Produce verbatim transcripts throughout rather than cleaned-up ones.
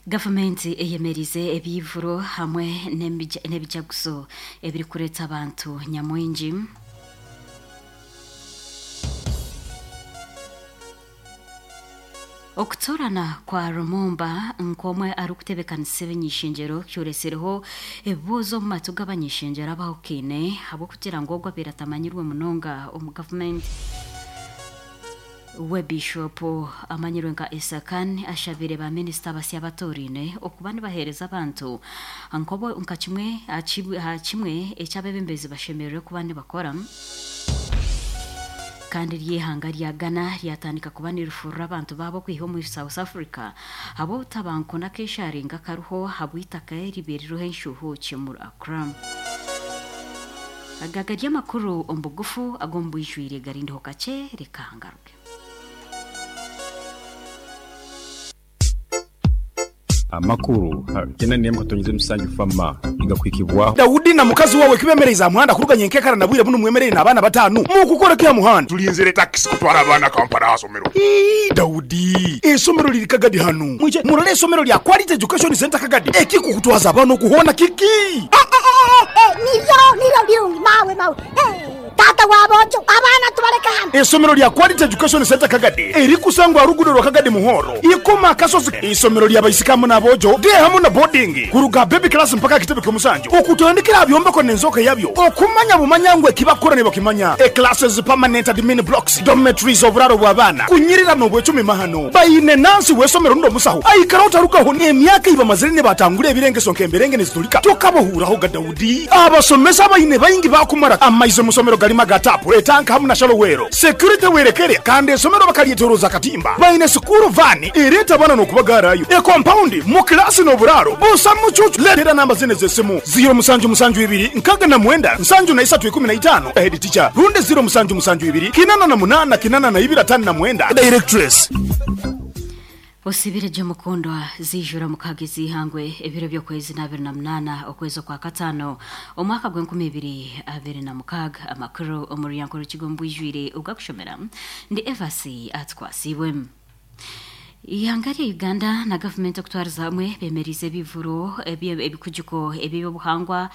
Gavumenti eyemerize ebivuro hamwe n'ebijaguzo ebirikureeta abantu nyamwingi. Okutorana kwa Lumumba nkomwe arikutebekanisa ebinyishengyero kyoresereho ebibuuzo omu matu g'abanyishengyero abahukaine ahabw'okugira ngu ogwo abaire atamanyirwe munonga omu gavumenti. We Bishop amanyirwe nka Esakan ashabire ba minisita basya batorine okuba nibaheereza abantu nkobo nka kimwe aha kimwe eky'abebembezi bashemererwe kuba nibakora. Kandi ry'ihanga rya Ghana ryatandika kuba nirifurura abantu baabo kwiha omu South Africa ahabw'obutabanguko n'akesharinga kariho ahabw'eitaka eribaire ririho enshuuhuuki omuri Accra. Aga gari amakuru omu bugufu ag'omu bwijwire garindiho kakye reka ngaruke. Amakuru tena niyo mukatonyeze musanju fama igakwikibwaho. Daudi na mukazi wawe kibemereza muhanda kuruganya enkekara na bwire buno mwemerere n'abaana batanu mukukora kya muhanda tulinzire taxi kutwara abaana Kampala asomero. Ii Daudi esomero liri Kagadi hanu mwije murole esomero lya Quality Education Center Kagadi ekikukutwaza abaana okuhona kiki niryo niryo birungi mawe mawe tata wabojo abaana tubaleka hano. Esomero lya Quality Education Center Kagadi erikusangwa rugudo rwa Kagadi Muhoro ikoma akasozi. Isomero lya baisikamu n'abojo de hamu na boarding kuruga baby class mpaka kitebe ky'omusanju okutandikira byombeko n'enzoka yabyo okumanya bumanya ekibakora ne bakimanya e classes permanent admin blocks dormitories oburaro bw'abaana kunyirira n'obwecumi mahano bayine nansi w'esomero ndo musaho aikara otarukaho emyaka ibamazire ne batangura ebirengeso nk'emberenge nezitulika tokabohuraho ga Daudi abasomesa bayine bayingi bakumara amaize musomero galima gatapu etanka hamu na shalowero security werekere kandi esomero bakalyetoroza katimba bayine sukuru vani ereta bana n'okubagarayo e compound mu klasi n'oburaro busa mucucu letera namba zine z'esimu zero musanju musanju ibiri nkaga na mwenda nsanju na isatu ikumi na itano head teacher runde zero musanju musanju ibiri kinana na munana kinana na ibiri atano na mwenda directress. Osibire Jomukondwa zijura mukagezi ihangwe ebiro by'okwezi na abiri na munana okwezi kwa katano omwaka gw'enkumi ibiri abiri na mukaga. Amakuru omuryango rukigo mbwijwire ugakushomera ndi Evasi Atkwasibwe. Ihanga rya Uganda na gavumenti okutwariza hamwe bemerize ebivuro ebikujuko eby'obuhangwa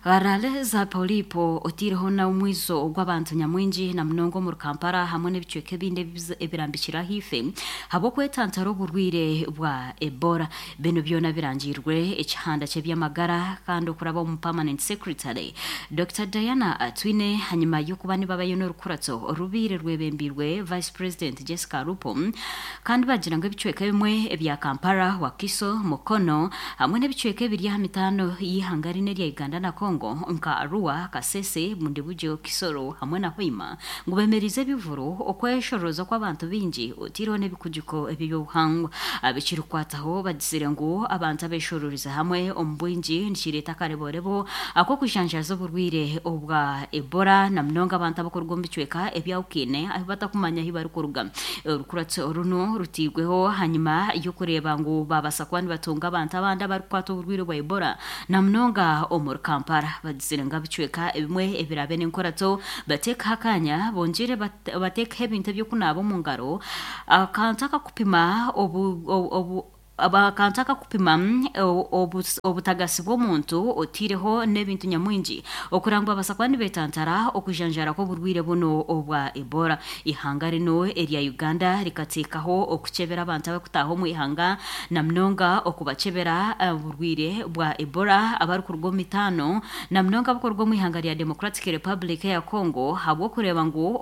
garale za Polipo otireho na omwizo ogw'abantu nyamwingi na munongo mu Kampala hamwe n'ebicweka ebindi ebirambikira hife habw'okwetantara oburwire bwa Ebola. Bino byona birangirwe ekihanda ky'ebyamagara kandi okuraba omu permanent secretary Doctor Diana Atwine hanyuma y'okuba nibabayo n'orukuratso orubiire rwebembirwe Vice President Jessica Alupo kandi bagira ngu ebicweka bimwe ebya Kampala, Wakiso, Mukono hamwe n'ebicweka ebiri aha mitano y'ihanga rine rya Uganda na Congo nka Arua, Kasese, Bundibugyo, Kisoro hamwe na Hoima ngu bemerize ebivuro okweshoroza kw'abantu bingi otiriho n'ebikujuko eby'obuhangwa. Abekirikwataho bagizire ngu abantu abeshororiza hamwe omu bwingi nikireeta akareborebo ak'okujanjaza oburwire obwa Ebola na munonga abantu abakuruga omu bicweka ebyahukine ahu batakumanya ahu barikuruga. Orukuratso runo rutigweho hanyuma y'okureeba ngu babasa kuba nibatunga abantu abandi abarikukwata oburwire bwa Ebola na munonga omuri Kampala. Bagizire ngu abicweka ebimwe ebirabe n'enkorato bateekaho akanya bongere bateekaho ebintu ebyokunaaba omu ngaro akantu akakupima obu obu abakantu akakupima obutagasi bw'omuntu otireho n'ebintu nyamwingi okurangwa babasa kuba nibetantara okujanjara kw'oburwire buno obwa Ebola. Ihanga rino erya Uganda rikateekaho okukyebera abantu abakutaha omu ihanga na munonga okubachebera oburwire bwa Ebola abarikuruga omu mitaano na munonga abakuruga omu ihanga rya Democratic Republic ya Congo habw'okureeba ngu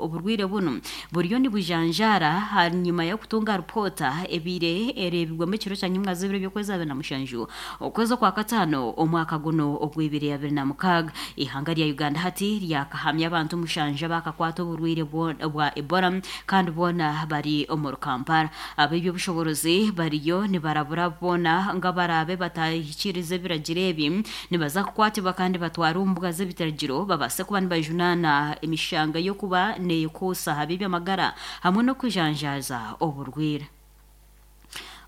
oburwire buno buriyo nibujanjara hanyuma y'okutunga ripota ebiire ereebirwemu ekiro kya nyimwa z'ebiro by'okwezi abiri na mushanju okwezi kwa katano omwaka guno ogw'ibiri abiri na mukaaga. Ihanga rya Uganda hati ryakahamya abantu mushanja bakakwata oburwire bwa Ebola kandi boona bari omu Kampala. Ab'ebyobushoborozi bariyo nibarabura boona nga barabe batahikiriza ebiragiro ebi nibaza kukwatibwa kandi batwara omu mbuga z'ebiragiro babase kuba nibajunaana emishanga y'okuba neekuusa aha by'amagara hamwe n'okujanjaaza oburwire.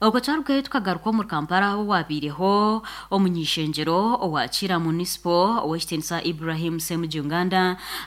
Okwo twarugayo tukagaruka omu Kampala aho wabiireho omunyishengyero owa Kira Municipal ow'ekitiinisa Ibrahim Ssemujju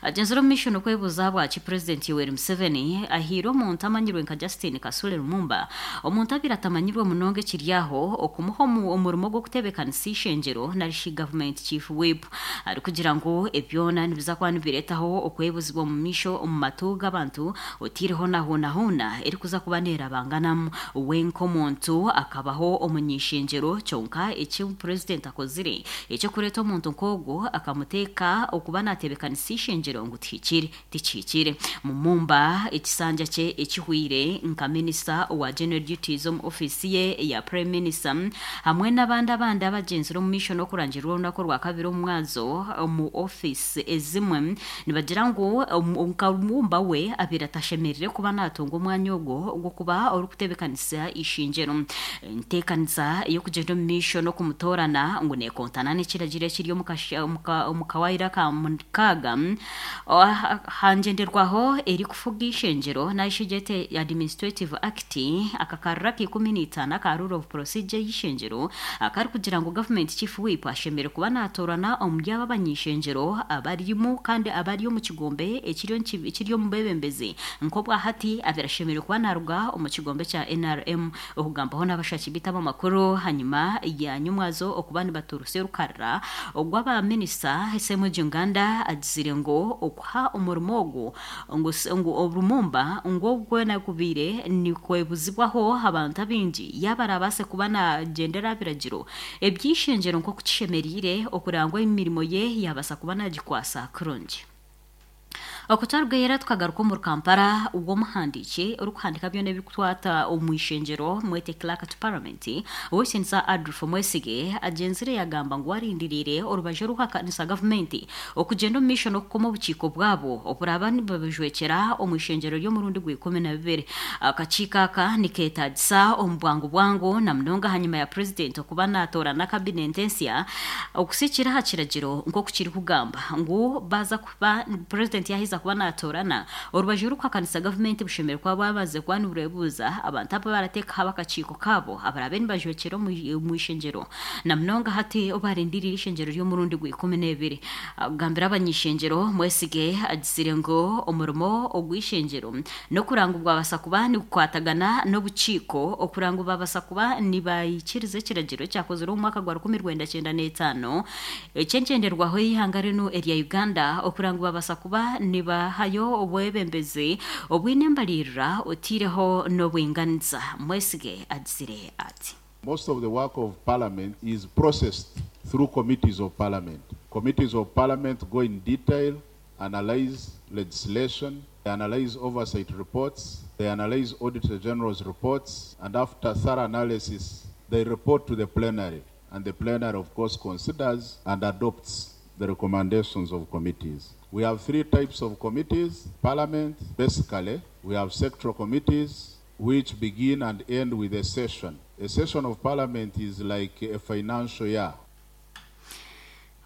agyenzire omu maisho n'okwebuuza bwaki Purezidenti Yoweri Museveni ahaire omuntu amanyirwe nka Justin Kasule Lumumba, omuntu abaire atamanyirwe munonga ekiri aho, okumuha omurimo gw'okutebeekanisa ishengyero narishi gavumenti chief whip, arikugira ngu ebyona nibiza kuba nibireetaho okwebuzibwa omu maisho omu matu g'abantu otiireho na hoona hoona erikuza kuba neerabanganamu. We nk'omuntu akabaho omunyishengyero, kyonka eki purezidenti akozire ekyokureeta omuntu nk'ogwo akamuteeka okuba naatebeekanisa ishengyero ngu tihikire tikihikire. Lumumba ekisanja kye ekihwire nka minisita owa general duties omu ofiisi ye eya prime minister hamwe n'abandi abandi abagyenzire omu maisho n'okurangirira orunaku orwa kabiri omu mwazo omu ofiisi ezimwe, nibagira ngu nka Lumumba we abaire atashemereire kuba naatunga omwanya ogwo ogw'okuba orikutebeekanisa ishengyero. Enteekanisa ey'okugyenda omu maisho n'okumutoorana ngu neekontana n'ekiragiro ekiri omu kawaayiro aka mukaaga hangyenderwaho erikufuga ishengyero narishi gyete Administrative Act, akakarira ka ikumi n'itaano aka rule of procedure y'ishengyero akarikugira ngu gavumenti chief whip ashemereire kuba naatoorana omuri abo abanyishengyero abarimu kandi abari omu kigombe ekiri omu bwebembezi, nk'obwahati abaire ashemereire kuba naaruga omu kigombe kya N R M. Okugambaho n'abashaki bitu abamakuru hanyuma ya nyumwazo okuba nibaturusa orukarira ogw'abaminisita, Ssemujju agizire ngu okuha omurimo ogwo ngu ngu Lumumba ngu ogwo gubaire nikwebuzibwaho abantu abaingi yaaba arabaase kuba naagyendera aha biragiro eby'ishengyero nk'oku kishemereire okureba ngu emirimo ye yabaasa kuba naagikwasa kurungi. Okwo twarugayo tukagaruka omu Kampala, w'omuhandiiki orikuhandika byona ebirikukwata omu ishengyero, mwete clerk to parliament, ow'ekitiinisa Adolf Mwesige, agyenzire yagamba ngu arindiriire orubaju orukuhakanisa gavumenti okugyenda omu maisho n'okukoma obukiiko bwabo oburaba nibabujwekyera omu ishengyero ry'omurundi gwa ikumi na bibiri. Akakiiko aka nikeetagisa omu bwangu bwangu na munonga hanyuma ya purezidenti okuba naatoorana kabinenti ensya, okusikira aha kiragiro nk'oku kirikugamba ngu baza kuba purezidenti yaaheza kuba naatoorana, orubaju orukuhakanisa gavumenti bushemereire kuba bwamaze kuba nibureebuuza abantu aba barateekaho abakakiiko kaabo abarabe nibajwekyera omu ishengyero, na munonga hati obarindiriire ishengyero ry'omurundi gwa ikumi n'ebiri. Agambira abanyishengyero, Mwesige agizire ngu omurimo ogw'ishengyero n'okuranga bwabasa kuba nigukwatagana n'obukiiko okuranga babasa kuba nibayikiriza ekiragiro ekyakozirwe omu mwaka gwa rukumi rwenda kyenda n'etaano eky'engyenderwaho y'eihanga rinu erya Uganda, okuranga babasa kuba nibahayo obwebembezi obwine embalirira otiireho n'obwinganiza. Mwesige agizire ati: Most of the work of Parliament is processed through committees of Parliament. Committees of Parliament go in detail, analyze legislation, they analyze oversight reports, they analyze Auditor General's reports, and after thorough analysis, they report to the plenary. And the plenary, of course, considers and adopts the recommendations of committees. We have three types of committees. Parliament, basically, we have sectoral committees, which begin and end with a session. A session of Parliament is like a financial year.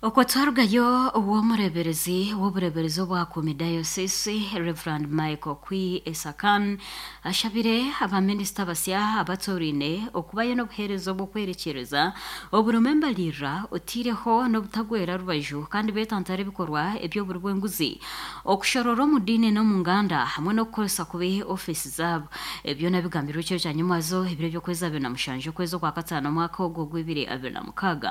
Okwo twarugayo, ow'omureberezi w'obureberezi obwa Diocese, Reverend Michael Okwi Esakan, ashabire abaminisita basya abatorine okubayo n'obuheereza obw'okwerekyereza oburimu embalirira otiireho n'obutagwera rubaju, kandi beetantara ebikorwa eby'oburi bw'enguzi, okushorora omu diini n'omu nganda, hamwe n'okukoresa kubi ofiisi zaabo. Ebyo nabigambirwe ekiro kya nyumwazo ebiro by'okwezi abiri na mushanju okwezi okwa kataano omwaka ogwo gw'ebiri abiri na mukaaga.